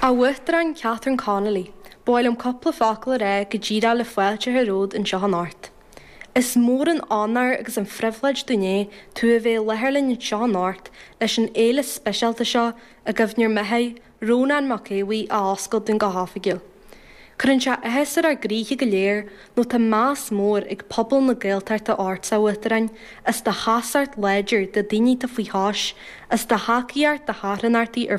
A Uachtaráin Catherine Connolly, ba mhaith liom cúpla focal a rá go díreach le fáilte a chur romhat anseo anocht. Is mór an onóir agus an phribhléid dúinn é tú a bheith i láthair linn anseo anocht leis an fhéile speisialta seo i gcuimhne ar m'athair, Rónán Mac Aodha Bhuí, a oscailt dúinn go hoifigiúil. Cuireann sé áthas ar ár gcroíthe go léir nó tá meas mór ag pobal na Gaeltachta ortsa, a Uachtaráin, as do sheasacht láidir do daoine atá faoi chois, as do thacaíocht do charthanachtaí ar.